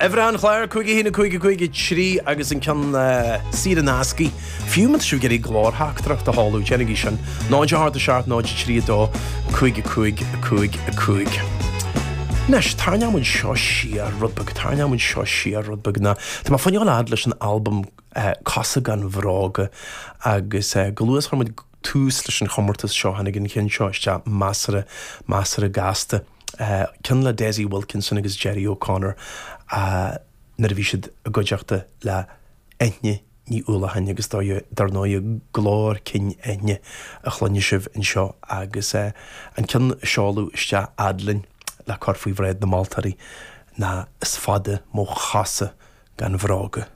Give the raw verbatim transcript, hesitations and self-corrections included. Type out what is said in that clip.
Uimhir an chláir cúig a haon cúig cúig trí agus an ceann saor in aisce. Fiú má tá sibh ag iarraidh glórtheachtaireacht a sheoladh, déanaigí sin. náid a hocht a seacht náid trí dó cúig cúig cúig cúig. Anois tarraingeoidh muid seo siar rud beag tarraingeoidh muid seo siar rud beag ná Tá mé ag fáil fhad leis an albam Cosa gan Bhróga agus go luath chuir muid tús leis an chomórtas seo tháinig an ceann seo isteach measartha measartha gasta. Ceann le Dessie Wilkinson agus Gerry O'Connor nuair a bhí siad i gcuideachta le Eithne Ní Uallacháin agus dar ndóigh glór cinn Eithne a chluinfidh sibh anseo agus an ceann a seoladh isteach fhad linn le cur faoi bhráid na moltóirí ná is fada mo chosa gan bhróga.